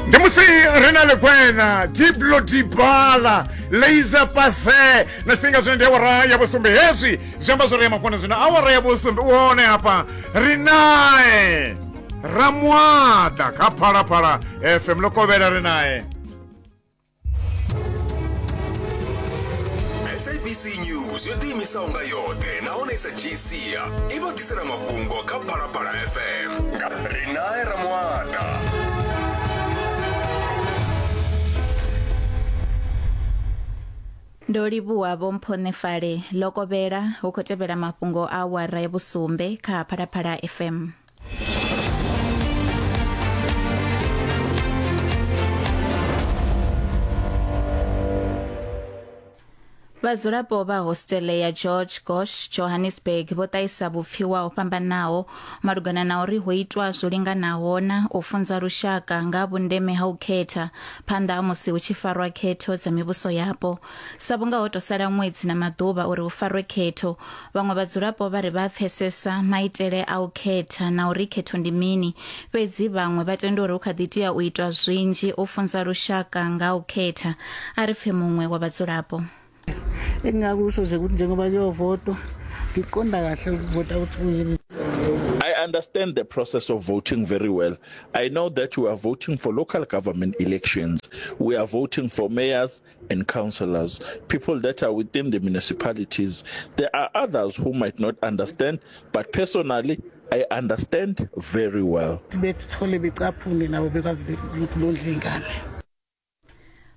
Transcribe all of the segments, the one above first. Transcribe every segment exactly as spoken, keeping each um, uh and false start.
Ndi musi ri na ḽigwena Diplo Dibala Laser Pase na tshifhinga zwino ndi awara ya vhusumbe. Hezwi zwi amba zwori ya mafhungo zwino awara ya vhusumbe u hone hafha ri nae Ramuaḓa kha Phalaphala F M. Ḽo kovhela ri nae. S A B C News yo ḓiimisaho nga yoṱhe nahone i sa dzhii sia i vha ḓisela mafhungo kha Phalaphala F M nga Rinae Ramuaḓa. Ndo livhuwa Vho Mphonefale. Ḽo kovhela hu khou tevhela mafhungo a awara ya vhusumbe kha Phalaphala F M. Vhadzulapo vha hostele ya George Gosh Johannesburg vho ṱahisa vhupfiwa ho fhambanaho malugana na uri ho itwa zwo linganaho na u funza lushaka nga vhundeme ha u khetha phanḓa ha musi hu tshi farwa khetho dza mivhuso yapo. Sa vhunga ho tou sala ṅwedzi na maḓuvha uri hu farwe khetho, vhaṅwe vhadzulapo vha ri vha pfesesa maitele a u khetha na uri khetho ndi mini, fhedzi vhaṅwe vha tenda uri hu kha ḓi tea u itwa zwinzhi u funza lushaka nga u khetha. A ri pfe muṅwe wa vhadzulapo. Engingakusho nje ukuthi njengoba kuyovotwa ngiqonda kahle ukuvota ukuthi kuyini. I understand the process of voting very well. I know that we are voting for local government elections. We are voting for mayors and councillors, people that are within the municipalities. There are others who might not understand, but personally, I understand very well. Bethole becaphune nabo bekwazi ukuthi bondle ingane.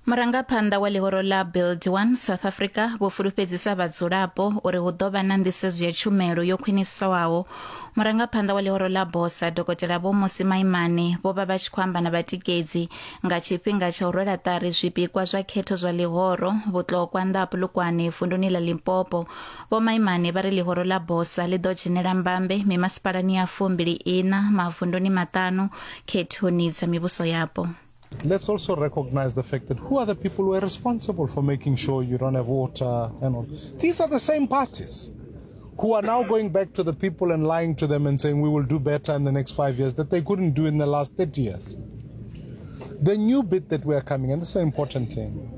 Murangaphanḓa wa ḽihoro ḽa Build One South Africa vho fulufhedzisa vhadzulapo uri hu ḓo vha na nḓisedzo ya tshumelo yo khwiniswaho. Murangaphanḓa wa ḽihoro ḽa Bosa Dokotela Vho Mmusi Maimane vho vha vha tshi khou amba na vhatikedzi nga tshifhinga tsha u rwela ṱari zwipikwa zwa khetho zwa ḽihoro Vhutlokwa nnḓa ha Polokwane vunduni ḽa Limpopo. Vho Maimane vha ri ḽihoro ḽa Bosa ḽi ḓo dzhenela mbambe mimasipalani ya fumbili ina mavunduni maṱanu khethoni dza mivhuso yapo. Let's also recognize the fact that who are the people who are responsible for making sure you don't have water and all. These are the same parties who are now going back to the people and lying to them and saying we will do better in the next five years that they couldn't do in the last thirty years. The new bit that we are coming, and this is an important thing,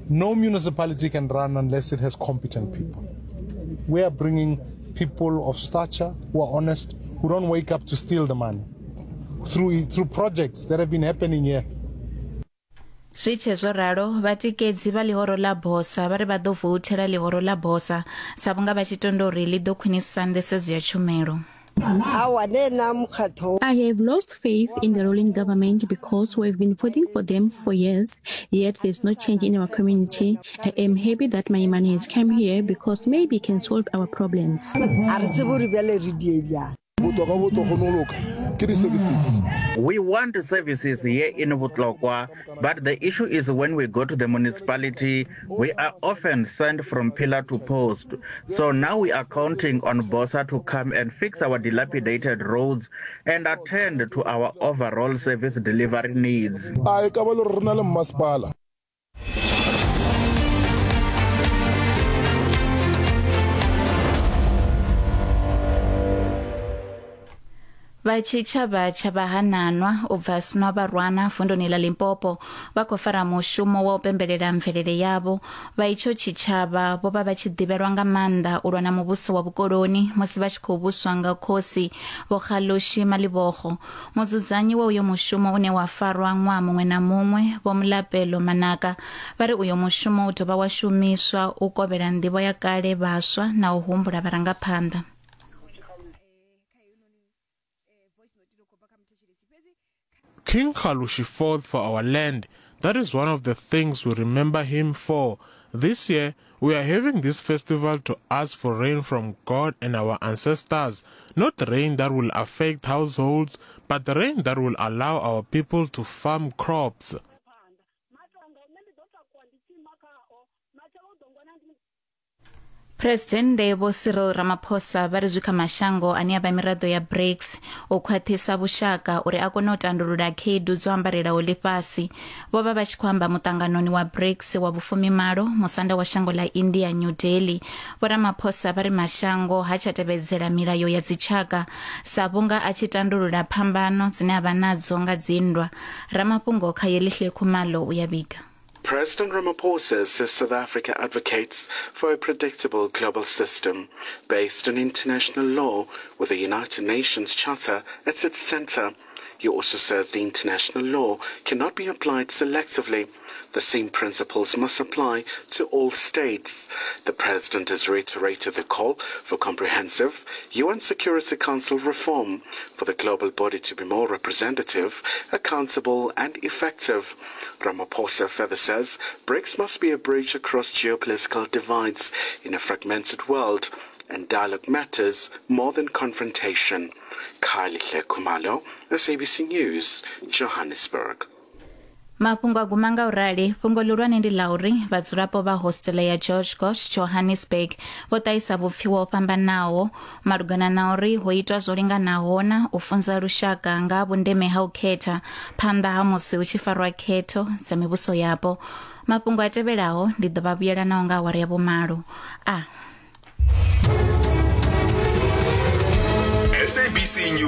no municipality can run unless it has competent people. We are bringing people of stature who are honest, who don't wake up to steal the money through, through projects that have been happening here. Zwi tshe zwo ralo, vhatikedzi vha ḽihoro ḽa Bosa vha ri vha ḓo voutela ḽihoro ḽa Bosa sa vhunga vha tshi tenda uri ḽi ḓo khwinisa nḓisedzo ya tshumelo. I have lost faith in the ruling government because we've been voting for them for years, yet there's no change in our community. I am happy that my money has come here because maybe it can solve our problems. We want services here in Vutlokwa, but the issue is when we go to the municipality, we are often sent from pillar to post. So now we are counting on Bosa to come and fix our dilapidated roads and attend to our overall service delivery needs. Vha tshitshavha tsha vhahananwa u bva Snobarwana vunduni ḽa Limpopo vha khou fara mushumo wa u pembelela mvelele yavho. Vha itsho tshitshavha vho vha vha tshi ḓivhelwa nga maanḓa u lwa na muvhuso wa vhukoloni musi vha tshi khou vhuswa nga khosi Vho Kgalushi Malibokgo. Mudzudzanyi wa uyo mushumo une wa farwa ṅwaha muṅwe na muṅwe Vho Mulapelo Manaka vha ri uyo mushumo u dovha wa shumiswa u kovhela nḓivho ya kale vhaswa na u humbula vharangaphanḓa. King Kgalushi fought for our land. That is one of the things we remember him for. This year, we are having this festival to ask for rain from God and our ancestors. Not rain that will affect households, but rain that will allow our people to farm crops. Presidennde Vho Cyril Ramaphosa vha ri zwi kha mashango ane a vha miraḓo ya BRICS u khwaṱhisa vhushaka uri a kone u tandulula khaedu dzo ambarelaho ḽifhasi. Vho vha vha tshi khou amba muṱanganoni wa BRICS wa vhufumimalo musanda wa shango ḽa India New Delhi. Vho Ramaphosa vha ri mashango ha tsha tevhedzela milayo ya dzitshaka sa vhunga a tshi tandulula phambano dzine a vha nadzo nga dzinndwa. Ramafhungo kha Yelihle Khumalo u ya vhiga. President Ramaphosa says South Africa advocates for a predictable global system based on international law with the United Nations Charter at its center. He also says the international law cannot be applied selectively. The same principles must apply to all states. The president has reiterated the call for comprehensive U N Security Council reform for the global body to be more representative, accountable and effective. Ramaphosa further says BRICS must be a bridge across geopolitical divides in a fragmented world, and dialogue matters more than confrontation. Kylie Khumalo, S A B C News, Johannesburg. Mafhungo a guma nga u rali. Fhungo ḽihulwane ndi ḽa uri vhadzulapo vha hostele ya George Goch Johannesburg vho ṱahisa vhupfiwa ho fhambanaho malugana na uri ho itwa zwo linganaho na u funza lushaka nga vhundeme ha u khetha phanḓa ha musi hu tshi farwa khetho dza mivhuso yapo. Mafhungo a tevhelaho ndi ḓo vha vhuyela nao nga awara ya vhumalo. A S A B C News.